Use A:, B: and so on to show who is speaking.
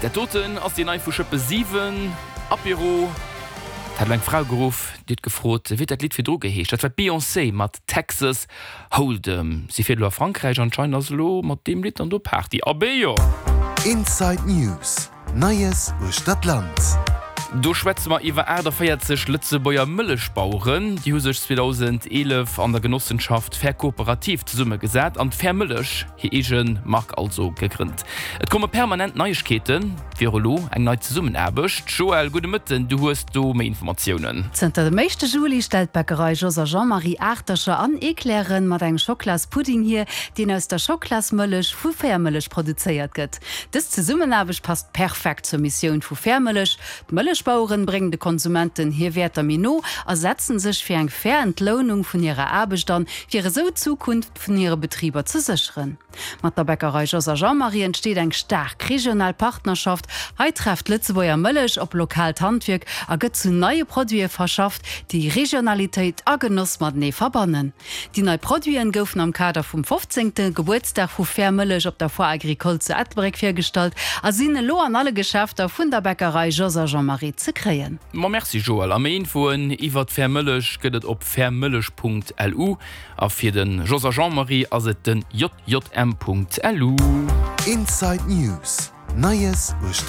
A: Dat doten ass déi nei vu Schëppe 7, Apéro. Et hat elo eng Frau geruff, déi huet gefrot, wéi huet dat Lidd virdru geheescht? Dat war d'Beyoncé mat Texas Hold'em. Si fiert elo a Frankräich, anscheinend ass elo mat deem Lidd dann do Party. Abee jo!
B: Inside News, Neies uechter d'Land.
A: Do schwätze mer iwwer 48 Lëtzebuerger Mëllechbaueren. Déi hu sech 2011 an der Genossenschaft Fair Kooperativ zesummegesat an d'Fair Mëllech, hir eege Mark also, gegrënnt. Et komme permanent Neiegkeeten, wéi och elo eng nei Zesummenaarbecht. Joël, gudde Mëtten, du hues do méi Informatiounen.
C: Zënter dem éischte Juli stellt d'Bäckerei Jos a Jean-Marie Aachtercher an Eclairen mat engem Schoklaspudding hier, deen aus der Schoklasmëllech vu Fairmëllech produzéiert gëtt. Dës Zesummenaarbecht passt perfekt zur Missioun vu Fairmëllech, D'Mëllechbaueren bréngen de Konsumenten hir Wäerter méi no a setzen sech fir eng fair Entlounung vun hirer Aarbecht an, fir esou d'Zukunft vun hire Betriber ze sécheren. Mat der Bäckerei Jos a Jean-Marie entsteet eng staark regional Partnerschaft. Hei trefft Lëtzebuerger Mëllech op lokaalt Handwierk a gëtt zu neie Produite verschafft, déi Regionalitéit a Genoss matenee verbannen. Déi nei Produiten goufen am Kader vum 15. Gebuertsdag vu Fair Mëllech op der Foire Agricole zu Ettelbréck virgestallt a sinn elo an alle Geschäfter vun der Bäckerei Jos a Jean-Marie ze kréien.
A: Ma merci Joël, a méi Infoen iwwert Fair Mëllech gëtt et op fairmëllech.lu a fir de Jos a Jean-Marie ass et den jjm.lu.
B: Inside News, Neies uechter.